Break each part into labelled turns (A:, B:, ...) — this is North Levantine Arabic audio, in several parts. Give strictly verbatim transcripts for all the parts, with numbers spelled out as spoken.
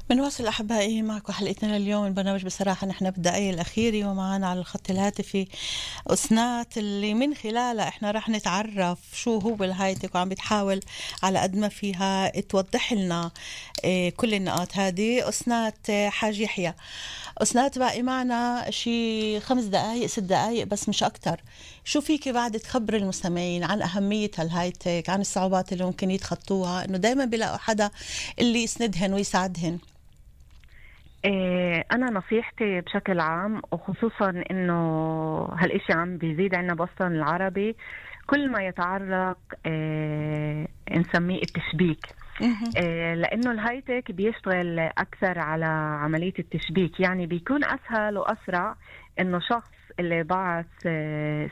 A: بنواصل أحبائي معكم حلقتنا اليوم. البرنامج بصراحة نحن بالدقايق الأخيرة ومعنا على الخط الهاتفي أسنات اللي من خلالها إحنا رح نتعرف شو هو الهايتك، وعم بتحاول على قد ما فيها توضح لنا إيه كل النقاط هذه. أسنات حاج يحيى، أسنات باقي معنا شي خمس دقايق ست دقايق بس مش أكتر. شو فيك بعد تخبر المستمعين عن أهمية هالهايتك، عن الصعوبات اللي ممكن يتخطوها، إنه دايما بيلاقوا حدا اللي يسندهن ويساعدهن؟
B: إيه أنا نصيحتي بشكل عام، وخصوصا إنه هالإشي عم بيزيد عنا بوسطن العربي، كل ما يتعلق إيه نسميه التشبيك. إيه لأنه الهايتك بيشتغل أكثر على عملية التشبيك، يعني بيكون أسهل وأسرع إنه شخص اللي بعث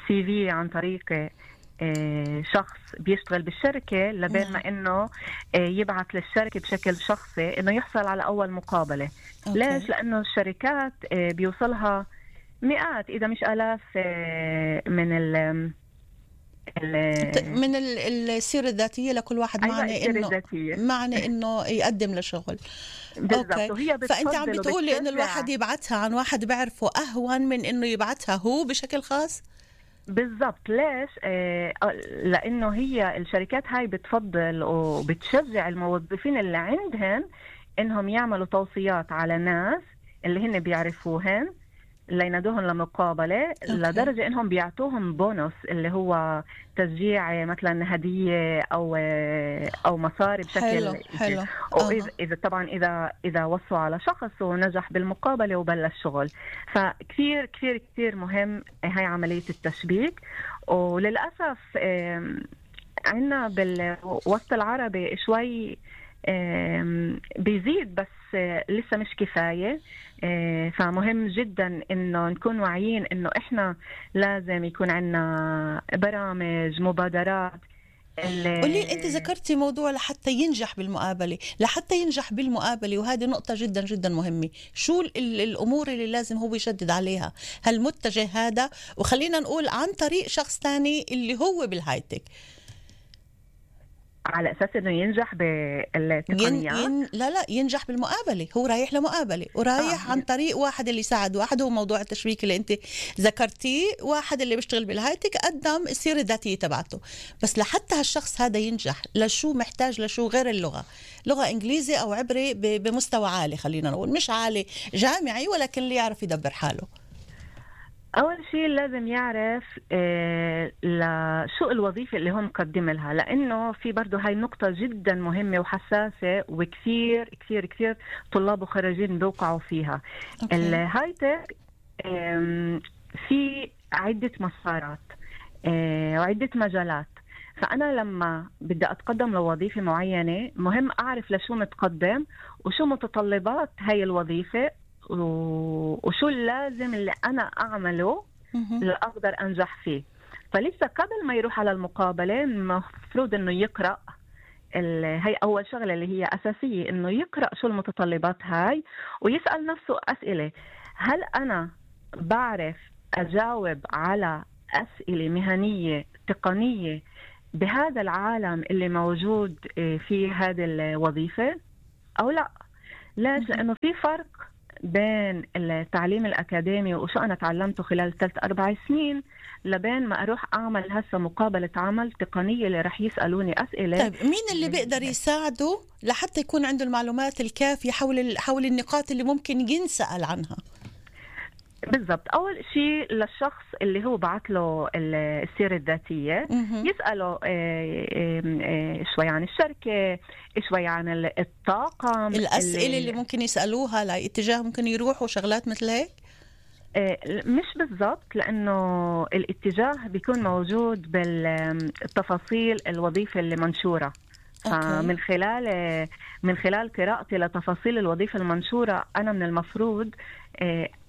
B: سي في عن طريق شخص بيشتغل بالشركة لبين ما إنه يبعث للشركة بشكل شخصي إنه يحصل على أول مقابلة. أوكي. ليش؟ لأنه الشركات بيوصلها مئات إذا مش آلاف من ال
A: من السيرة الذاتية لكل واحد.
B: أيوة
A: معنى إنه معنى إنه يقدم لشغل.
B: بالضبط. وهي
A: فأنت عم بتقولي إنه الواحد يبعثها عن واحد بعرفه أهون من إنه يبعثها هو بشكل خاص؟
B: بالضبط. ليش؟ آه لأنه هي الشركات هاي بتفضل وبتشجع الموظفين اللي عندهن إنهم يعملوا توصيات على ناس اللي هن بيعرفوهن لينادوهن لمقابلة. أوكي. لدرجة إنهم بيعطوهم بونص اللي هو تشجيع مثلا هدية أو أو مصاري بشكل
A: حلو. حلو.
B: وإذا إذا طبعا إذا إذا وصوا على شخص ونجح بالمقابلة وبلش شغل. فكثير كثير كثير مهم هاي عملية التشبيك. وللأسف عنا بالوسط العربي شوي بيزيد بس لسه مش كفاية. فمهم جدا إنه نكون واعيين إنه إحنا لازم يكون عنا برامج مبادرات.
A: قولي أنت ذكرتي موضوع لحتى ينجح بالمقابلة، لحتى ينجح بالمقابلة وهذه نقطة جدا جدا مهمة. شو الأمور اللي لازم هو يشدد عليها؟ هالمتجه هذا، وخلينا نقول عن طريق شخص تاني اللي هو بالهايتك،
B: على أساس إنه ينجح بالتقنيات.
A: ين... ين... لا لا ينجح بالمقابلة. هو رايح لمقابلة ورايح آه. عن طريق واحد اللي ساعد واحد. هو موضوع التشبيك اللي أنت ذكرتيه، واحد اللي بيشتغل بالهايتك قدم السيرة الذاتية تبعته. بس لحتى هالشخص هذا ينجح، لشو محتاج؟ لشو غير اللغة؟ لغة إنجليزي أو عبري ب... بمستوى عالي، خلينا نقول مش عالي جامعي، ولكن اللي يعرف يدبر حاله.
B: أول شيء لازم يعرف آه لشو الوظيفة اللي هم مقدم لها، لأنه في برضو هاي نقطة جدا مهمة وحساسة، وكثير كثير كثير طلاب وخريجين بيوقعوا فيها. أوكي. الهايتك آه في عدة مسارات آه وعدة مجالات. فأنا لما بدي أتقدم لوظيفة معينة مهم أعرف لشو متقدم وشو متطلبات هاي الوظيفة وشو اللازم اللي أنا أعمله لأقدر أنجح فيه. فلسه قبل ما يروح على المقابلة المفروض إنه يقرأ هاي أول شغلة اللي هي أساسية، إنه يقرأ شو المتطلبات هاي ويسأل نفسه أسئلة. هل أنا بعرف أجاوب على أسئلة مهنية تقنية بهذا العالم اللي موجود في هذه الوظيفة أو لا؟ ليش؟ لأنه في فرق بين التعليم الأكاديمي وشو أنا تعلمته خلال ثلاث أربع سنين لبين ما أروح أعمل هسه مقابلة عمل تقنية اللي رح يسألوني أسئلة.
A: طيب مين اللي بيقدر يساعده لحتى يكون عنده المعلومات الكافية حول حول النقاط اللي ممكن ينسأل عنها؟
B: بالضبط. أول شيء للشخص اللي هو بعت له السيرة الذاتية يسأله شوي عن الشركة، شوي عن الطاقم،
A: الأسئلة اللي, اللي ممكن يسألوها لاتجاه ممكن يروحوا شغلات مثل هيك.
B: مش بالضبط، لأنه الاتجاه بيكون موجود بالتفاصيل الوظيفة اللي منشورة. فمن خلال من خلال قراءتي لتفاصيل الوظيفة المنشورة أنا من المفروض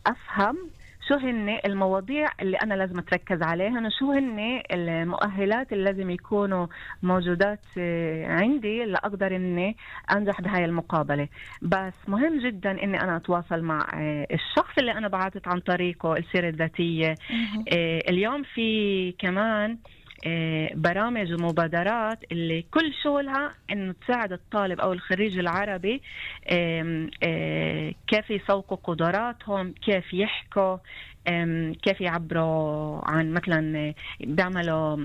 B: أفهم شو هن المواضيع اللي أنا لازم أتركز عليها، وشو هن المؤهلات اللي لازم يكونوا موجودات عندي لأقدر إني أنجح بهاي المقابلة. بس مهم جدا إني أنا أتواصل مع الشخص اللي أنا بعثت عن طريقه السيرة الذاتية. اليوم في كمان برامج ومبادرات اللي كل شغلها إنه تساعد الطالب أو الخريج العربي كيف يسوقوا قدراتهم، كيف يحكوا، كيف يعبروا عن مثلا بيعملوا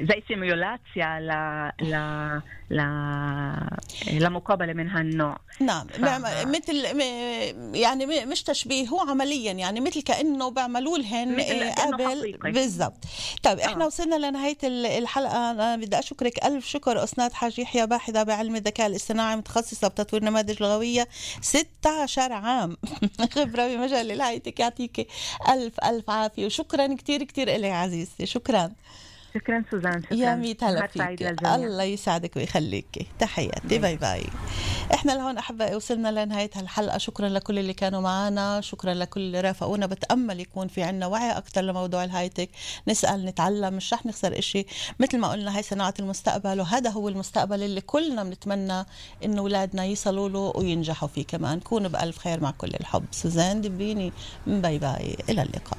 B: زي سيميولاتيا ل ل ل لمقابله من هالنوع.
A: نعم ف... مثل يعني مش تشبيه، هو عمليا يعني مثل كانه بيعملوا لهن قبل بالضبط. طيب احنا آه. وصلنا لنهايه الحلقه. انا بدي اشكرك الف شكر استاذ حاج يحيى، باحثه بعلم الذكاء الاصطناعي متخصصه بتطوير نماذج لغويه، ستة عشر عام خبره بمجال الهايتك. يعطيك الف الف عافيه وشكرا كتير كتير إلي عزيزتي. شكرا
B: شكرا سوزان. شكرا
A: يا ميت هلا فيك، الله يسعدك ويخليك. تحياتي، باي باي. احنا لهون احبائي وصلنا لنهايه هالحلقه. شكرا لكل اللي كانوا معنا، شكرا لكل اللي رافقونا. بتامل يكون في عنا وعي اكثر لموضوع الهايتك، نسال نتعلم، مش رح نخسر إشي. مثل ما قلنا هاي صناعه المستقبل، وهذا هو المستقبل اللي كلنا بنتمنى انه اولادنا يصلوا له وينجحوا فيه كمان. كونوا بالف خير مع كل الحب. سوزان دبيني، باي باي، الى اللقاء.